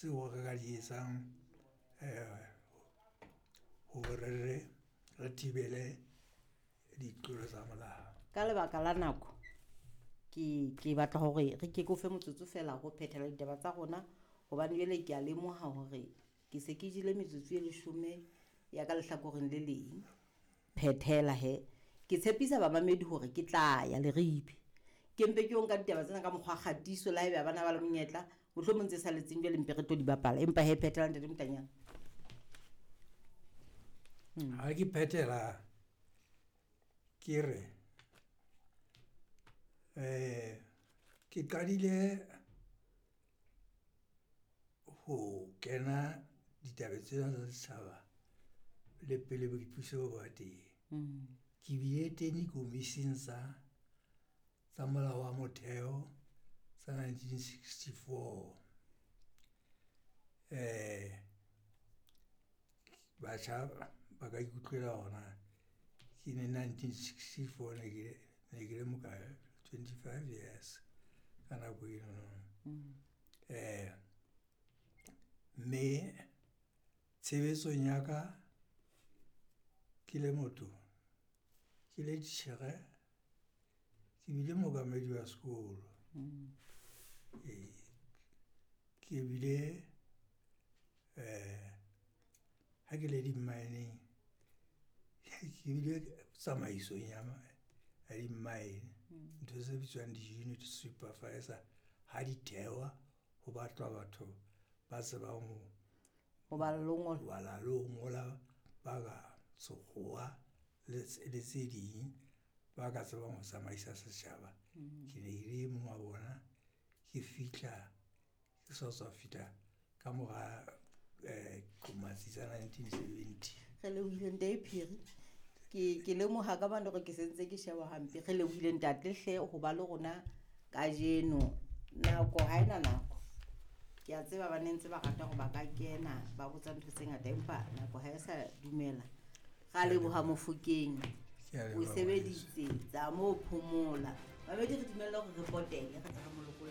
Tseo re ka di etsang hore re thibele ditlolo tsa molao. Ka lebaka la nako ke batla hore re ke ke o fe motsotso feela ho phethela ditaba tsa rona hobane jwale ke a lemoha hore ke se ke jele metsotso e leshome ya ka lehlakoreng le leng. Phethela he. Ke tshepisa bamamedi hore ke tla ya Leribe. Ke mpe ke yo nka ditaba tsena ka mokgwa kgatiso le haebe ha bana ba le monyetla mohlomong tse saletseng jwale mpe re tlo di bapala empa he phethela ntate Motanyane. Ha ke phethela ke re ke qadile ho kena ditabeng tsena tsa setjhaba le pele boipuso bo ba teng. Ke bile teng dikomising tsa molao wa motheo tsa 1964. Batjha ba ka ikutlwela hore na ke ne 1964 ne ke le mokae, 25 years ka nako enono. Mme tshebetsong ya ka ke le motho, ke le titjhere, ke bile mookamedi wa sekolo. Ee, ke bile ha ke le di-mine-eng, ke bile tsamaisong ya di-mine. Ntho tse bitswang di-unit supervisor ha di thehwa ho batlwa batho ba tsebang ho Ho bala le ho ngola. Bala le ho ngola, ba ka sekgowa le tse ding, ba ka tsebang ho tsamaisa setjhaba. Ke ne ke le e mong wa bona, ke fihla, ke sa tswa fihla ka mora qomatsi tsa 1970. Re lebohile ntate Phiri. Ke lemoha ka mane hore ke sentse ke sheba hampe. Re lebohile ntate hle ho ba le rona kajeno. Nako ha ena nako. Ke a tseba ba ne ntse ba rata hore ba ka kena ba botsa ntho tse ngata empa nako ha e sa dumela. Ra leboha Mofokeng. Ke a O leboha, sebeditse tsa mo phomola. Mamedi re dumelle hore re potele re tle re mo lokolle.